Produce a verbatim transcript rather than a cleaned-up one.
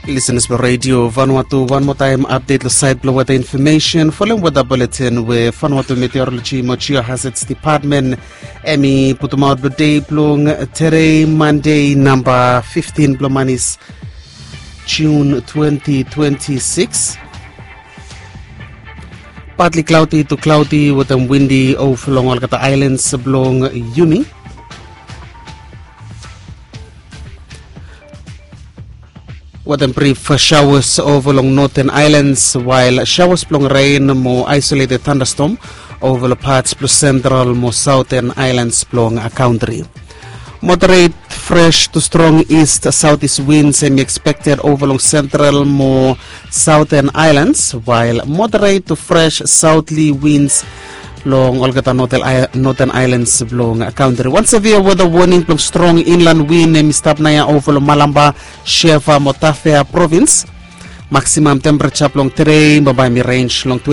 Listeners blong Radio Vanuatu, wan moa taem update long sait blong weather information folem weather bulletin we Vanuatu Meteorology mo Geohazards Department em i putumaot blong dei blong today Monday namba fifteen blong manis June twenty twenty-six. Partly cloudy to cloudy wetem windy ova long olgeta islands blong Yumi. Wetem brief showers ova long Northern Islands, while showers blong rain mo isolated thunderstorm ova long parts blong Central mo Southern Islands blong country. Moderate fresh to strong east southeast winds em i expected ova long Central mo Southern Islands, while moderate to fresh southerly winds long olgeta Northern Islands blong country. Wan severe weather warning blong strong inland wind em i stap naoia ova long Malamba, Shefa mo Tafea province. Maximum temperature blong today bambae em i range long